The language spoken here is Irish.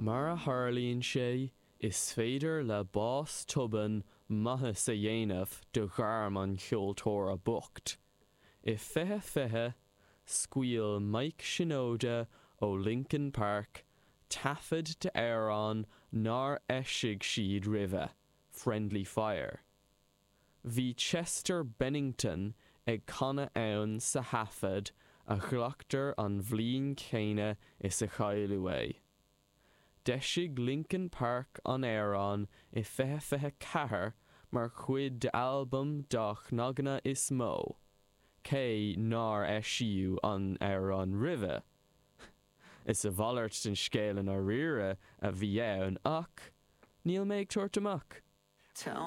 Mar a tharlaíonn sé, is féidir le bás tobann maitheas a dhéanamh do ghairm an cheoltóra boicht. I 2020, scaoil Mike Shinoda ó Linkin Park taifead d'amhrán nár eisigh siad roimhe, Friendly Fire. Bhí Chester Bennington ag canadh ann sa thaifead a ghlactar an bhliain chéanna is a cailleadh é. D'eisigh Linkin Park an amhrán i 2024 mar chuid d'albam dá cnaganna is mó, cé nár eisíodh an amhrán roimhe. Is a mhalairt den scéal i ndáiríre a bhí ann ach níl mé ag tabhairt amach. Tell